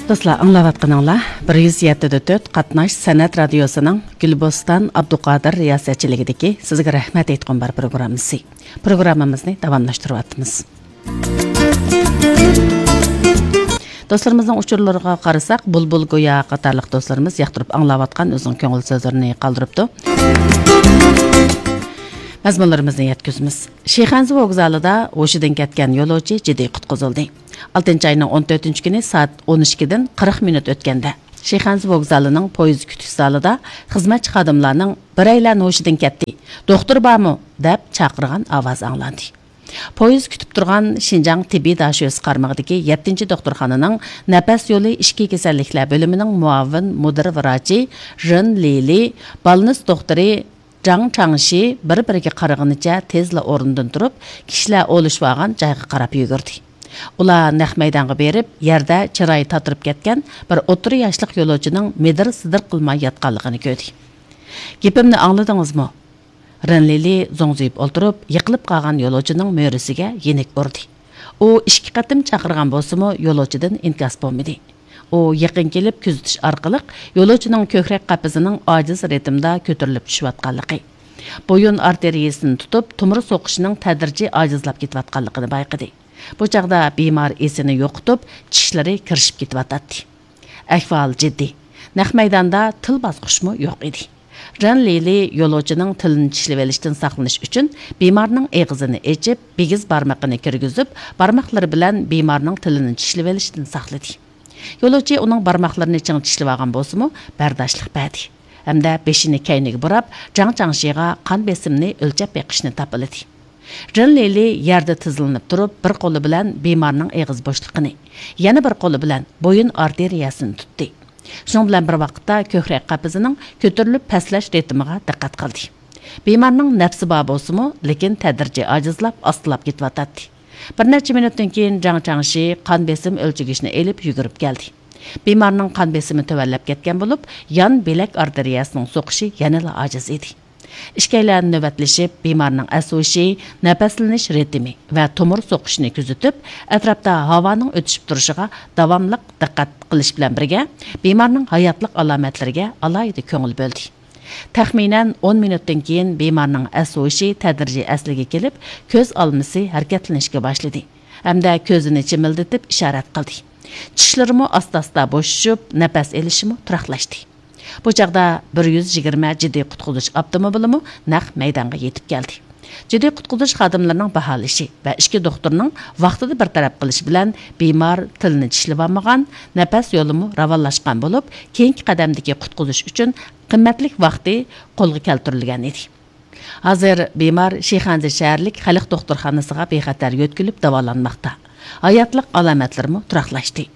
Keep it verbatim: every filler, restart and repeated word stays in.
دوستلار، ئاڭلاۋاتقىنىڭلار بىر يۈز يەتتە دە تۆت قاتناش سەنئەت رادىيوسىنىڭ گۈلبوستان ئابدۇقادىر رىياسەتچىلىكىدىكى سىزگە رەھمەت ئېيتقۇم بار پروگراممىسى. پروگراممىمىزنى داۋاملاشتۇرۇۋاتىمىز. دوستلىرىمىزنىڭ ئۇچۇرلىرىغا قارىساق، بۇلبۇل گويا قاتارلىق دوستلىرىمىز ياقتۇرۇپ ئاڭلاۋاتقان ئۆزىنىڭ كۆڭۈل سۆزلىرىنى قالدۇرۇپتۇ. مەزمۇنلىرىمىزنى يەتكۈزىمىز. شىخەنزە ۋوگزالىدا ھوشىدىن كەتكەن يولۇچى جىددىي قۇتقۇزۇلدى. ئالتىنچى ئاينىڭ ئون تۆتىنچى كۈنى سائەت ئون ئىككىدىن قىرىق مىنۇت ئۆتكەندە، شىخەنزە ۋوگزالىنىڭ پويىز كۈتۈش زالىدا خىزمەتچى خادىملارنىڭ «بىرەيلەن ھوشىدىن كەتتى، دوختۇر بارمۇ؟» دەپ چاقىرغان ئاۋازى ئاڭلاندى. پويىز كۈتۈپ تۇرغان شىنجاڭ تېببىي داشۆسى قارمىقىدىكى يەتتىنچى دوختۇرخانىنىڭ نەپەس يولى ئىچكى كېسەللىكلەر بۆلۈمىنىڭ مۇئاۋىن مۇدىر ۋراچى رېن لىلى بالنىس دوختۇرى جاڭ چاڭشى بىر-بىرىگە قارىغىنىچە تېزلا ئورنىدىن تۇرۇپ، كىشىلەر ئولىشىۋالغان جايغا قاراپ يۈگۈردى. ئۇلار نەق مەيدانغا بېرىپ، يەردە چىرايى تاتىرىپ كەتكەن بىر ئوتتۇرا ياشلىق يولۇچىنىڭ مىدىر-سىدىر قىلماي ياتقانلىقىنى كۆردى. «گېپىمنى ئاڭلىدىڭىزمۇ؟» رېن لىلى زوڭزىيىپ ئولتۇرۇپ، يىقىلىپ قالغان يولۇچىنىڭ مۈرىسىگە يېنىك ئۇردى. ئۇ ئىككى قېتىم چاقىرغان بولسىمۇ، يولۇچىدىن ئىنكاس بولمىدى. ئۇ يېقىن كېلىپ كۆزىتىش ئارقىلىق يولۇچىنىڭ كۆكرەك قەپىسىنىڭ ئاجىز رىتىمدا كۆتۈرۈلۈپ چۈشۈۋاتقانلىقى، بويۇن ئارتېرىيىسىنى تۇتۇپ، تومۇر سوقۇشىنىڭ تەدرىجىي ئاجىزلاپ كېتىۋاتقانلىقىنى بايقىدى. بۇ چاغدا بىمار ئېسىنى يوقىتىپ، چىشلىرى كىرىشىپ كېتىۋاتاتتى. ئەھۋال جىددىي. نەق مەيداندا تىل باسقۇچمۇ يوق ئىدى. رېن لىلى يولۇچىنىڭ تىلىنى چىشلىۋېلىشتىن ساقلىنىش ئۈچۈن بىمارنىڭ ئېغىزىنى ئېچىپ، بىگىز بارمىقىنى كىرگۈزۈپ، بارماقلىرى بىلەن بىمارنىڭ تىلىنى چىشلىۋېلىشتىن ساقلىدى. يولۇچى ئۇنىڭ بارماقلىرىنى چىڭ چىشلىۋالغان بولسىمۇ، بەرداشلىق بەردى ھەمدە بېشىنى كەينىگە بۇراپ، جاڭ چاڭشىغا قان بېسىمىنى ئۆلچەپ بېقىشنى تاپىلىدى. رېن لىلى يەردە تىزلىنىپ تۇرۇپ، بىر قولى بىلەن بىمارنىڭ ئېغىز بوشلۇقىنى، يەنە بىر قولى بىلەن بويۇن ئارتېرىيەسىنى تۇتتى. شۇنىڭ بىلەن بىر ۋاقىتتا كۆكرەك قەپىسىنىڭ كۆتۈرۈلۈپ پەسلەش رىتىمىغا دىققەت قىلدى. بىمارنىڭ نەپسى بار بولسىمۇ، لېكىن تەدرىجىي ئاجىزلاپ، ئاستىلاپ كېتىۋاتاتتى. بىر نەچچە مىنۇتتىن كېيىن جاڭ چاڭشى قان بېسىم ئۆلچىگۈچنى ئېلىپ يۈگۈرۈپ كەلدى. بىمارنىڭ قان بېسىمى تۆۋەنلەپ كەتكەن بولۇپ، يان بىلەك ئارتېرىيەسىنىڭ سوقۇشى يەنىلا ئاجىز ئىدى. ئىككىيلەن نۆۋەتلىشىپ، بىمارنىڭ ئەس ھوشى، نەپەسلىنىش رىتىمى ۋە تومۇر سوقۇشىنى كۆزىتىپ، ئەتراپتا ھاۋانىڭ ئۆتۈشۈپ تۇرۇشىغا داۋاملىق دىققەت قىلىش بىلەن بىرگە، بىمارنىڭ ھاياتلىق ئالامەتلىرىگە ئالاھىدە كۆڭۈل بۆلدى. تەخمىنەن ئون مىنۇتتىن كېيىن بىمارنىڭ ئەس ھوشى تەدرىجىي ئەسلىگە كېلىپ، كۆز ئالمىسى ھەرىكەتلىنىشكە باشلىدى ھەمدە كۆزىنى چىمىلدىتىپ ئىشارەت قىلدى. چىشلىرىمۇ ئاستا-ئاستا بوشىشىپ، نەپەس ئېلىشىمۇ تۇراقلاشتى. بۇ چاغدا بىر يۈز يىگىرمە جىددىي قۇتقۇزۇش ئاپتوموبىلىمۇ نەق مەيدانغا يېتىپ كەلدى. جىددىي قۇتقۇزۇش خادىملىرىنىڭ باھالىشى ۋە ئىككى دوختۇرنىڭ ۋاقتىدا بىر تەرەپ قىلىشى بىلەن بىمار تىلىنى چىشلىۋالمىغان، نەپەس يولىمۇ راۋانلاشقان بولۇپ، كېيىنكى قەدەمدىكى قۇتقۇزۇش ئۈچۈن قىممەتلىك ۋاقتى قولغا كەلتۈرۈلگەن ئىدى. ھازىر بىمار شىخەنزە شەھەرلىك خەلق دوختۇرخانىسىغا بىخەتەر يۆتكىلىپ داۋالانماقتا. ھاياتلىق ئالامەتلىرىمۇ تۇراقلاشتى.